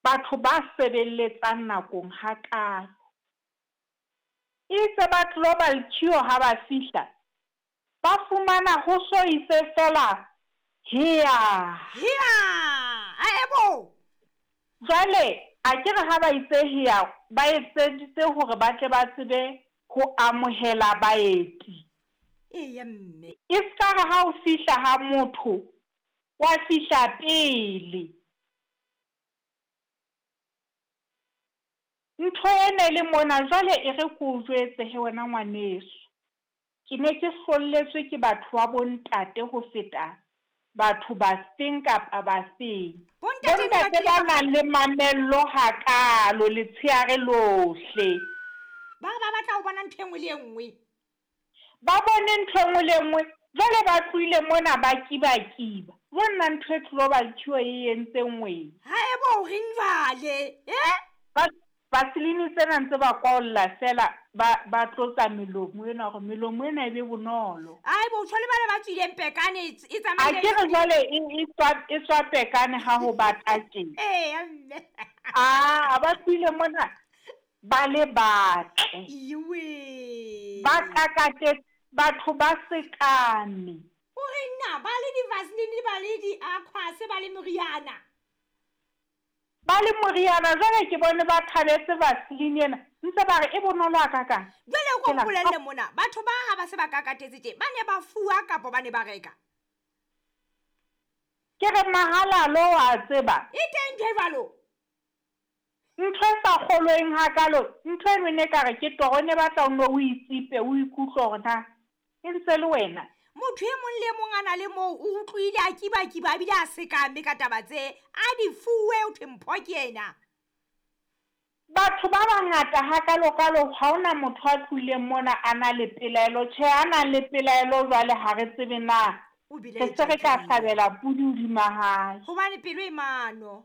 Batho ba sebeletsang nakong hakaalo. Itse ba Global Cure ha ba fihla, ba fumana ho so itse feela hea. Hea! Aebo! Jwale a ke re ha ba itse hea, ba etseditse hore ba tle ba tsebe ho amohela baeti. Eya mme. E ska re ha o fihla ha motho, wa fihla pele. Ntho e ne le mona jwale e re ke o jwetse he wena ngwaneso. Ke ne ke hlolletswe ke batho ba bontate ho feta batho bafeng kapa bafeng. Bontate ne ba Bontate kile ba ba nang le mamello hakaalo letsheare lohle. Ba re ba batla ho bona ntho e nngwe le e nngwe. Ba bone ntho e nngwe le e nngwe, jwale ba tlohile mona ba kibakiba. Jo nna ntho e Global Cure e entseng wena. Haebo o reng jwale? Eh? Ba Vaseline tsena ntse ba kwaolla feela ba ba tlotsa melomo ena hore melomo ena e be bonolo. Haebo o tjho le bana ba tswileng pekane e A tsamaile ke re jwale e e tswa e tswa pekane ha ho bata tje. Eya mme. Aa ba tlohile mona ba le batle. Iwe. Ba kakatetse batho ba sekame. O re na ba le di-vaseline ba le di-aquas ba le moriana. Ba le moriana jwale ke bone ba thabetse vaseline ena ntse ba re e bonolo hakakang. Jwale o ko mpolelle mona batho ba ha ba se ba kakatetse tje ba ne ba fuwa kapo ba ne ba reka? Ke re mahalalo wa tseba. E teng ntho e jwalo? Ntho e sa kgolweng hakalo, ntho eno e ne ekare ke toro, e ne batla o nno o itsipe o ikutlwe hore na e ntse le wena. Motho e mong le e mong a na le moo o utlwile a kibakiba a bile a sekame ka taba tse a di fuwe ho thwe mpho ke ena. Batho ba bangata hakalokalo ha hona motho a tlohileng mona a na le pelaelo. Tjhe, a nang le pelaelo jwale ha re tsebe na O re se belaetswa re ka keng? hlabela pudi hodima hae. Hobane pelo e mano.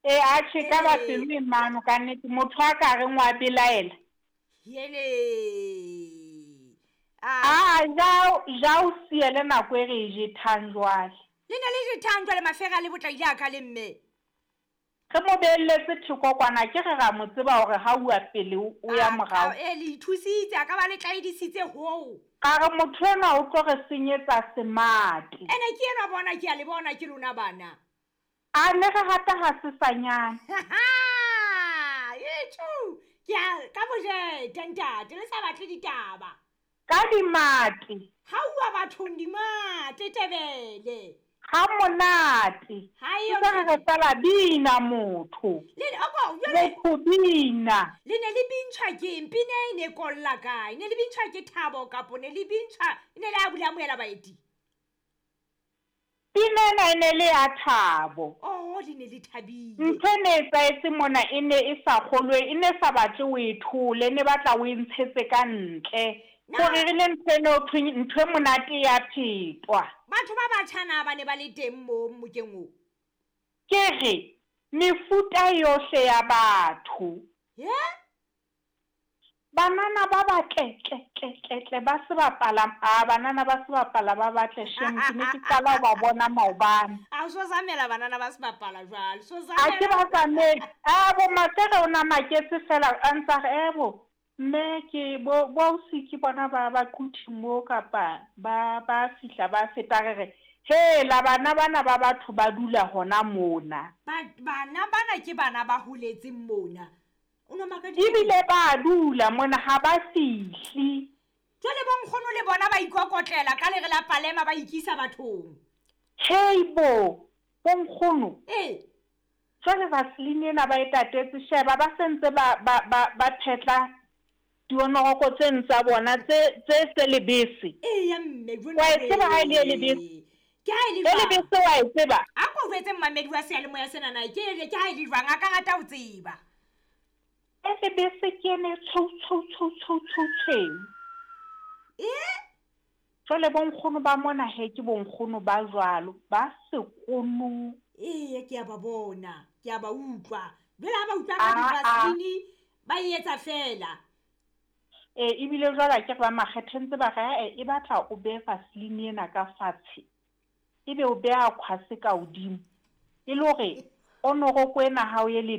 Ee, atjhe e ka ba Ee. pelo e mano kannete. Motho a ka reng wa belaela. Hele. Aa ja ja o siele nako e re e jethang jwale. Le ne le jethang jwale mafera a le botlaile a ka le mme. Re mo beelletse theko kwana ke re ra mo tseba hore ha uwa pele o ya morao. E le ithusitse a ka ba le tlaedisitse hoo. Ka re motho enwa o tlo re senyetsa semate. Ene ke enwa bona ke a le bona ke lona bana. A ne re rata ha sesanyana. Etjho, ke a ka bojete ntate le sa batle ditaba. Ka dimate. Ha uwa bathong dimate Tebele. Ha monate. Ha Ntse re re fela bina motho. Le oko jwale Motho bina. Le ne le bintshwa ke eng? Pina e ne kolla kae? Ne le bintshwa ke thabo kapo ne le bintshwa ne le a bula amohela baeti? Pina ena e ne le ya thabo. Oh, le ne le thabile. Ntho e ne etsahetse mona e ne e sa kgolwe, e ne sa batle o e thole, e ne batla o e ntshetse ka ntle. Hore re le ntho eno thweng ntho e monate ya phetwa. Batho ba batjha na ba ne ba le teng moo mmokeng oo? Ke re mefuta yohle ya batho. Ye? Banana ba batle tle tle tle tle ba sebapala a banana ba sebapala ba batle shame ke ne ke qala ho ba bona maobane. A so zamela banana ba sebapala jwale. So A zamela. ke ba zamele. A bo Mafere o na maketse fela a ntsa re ebo mme ke bo bo ausi ke bona ba ba quthi mo kapa ba ba fihla ba feta re re he la bana bana ba batho ba dula hona mona. Ba bana bana ke bana ba holetseng mona. O no makaditse. Ebile ba dula mona ha ba fihli. Jwale bo nkgono le bona ba ikokotlela ka lere la palema ba ikisa bathong. Hei bo, bo nkgono. Ee. Jwale Vaseline ena ba e tatetse sheba ba sentse ba ba ba ba phetla dionoroko tse tsa bona tse tse tse lebese. Eya mme jwale. Wa e tseba ha e le e lebese. Ke ha e le E jwang? lebese wa e tseba? A ko jwetse mmamedi wa seyalemoya sena na ke ha e le jwang a ka rata ho tseba. E lebese ke ene tshweu tshweu tshweu tshweu tshweu tshweu. Eh? Jwale bo nkgono ba mona he ke bo nkgono ba jwalo ba sekono. Eya ke a ba bona, ke a ba utlwa. Jwale ha ba utlwa ka di-Vaseline ba e etsa fela. E ebile jwale akere ba makgethe ntse ba re e batla o behe Vaseline ena ka fatshe. Ebe o beha khwase ka hodimo. E le hore onoroko ena ha o e le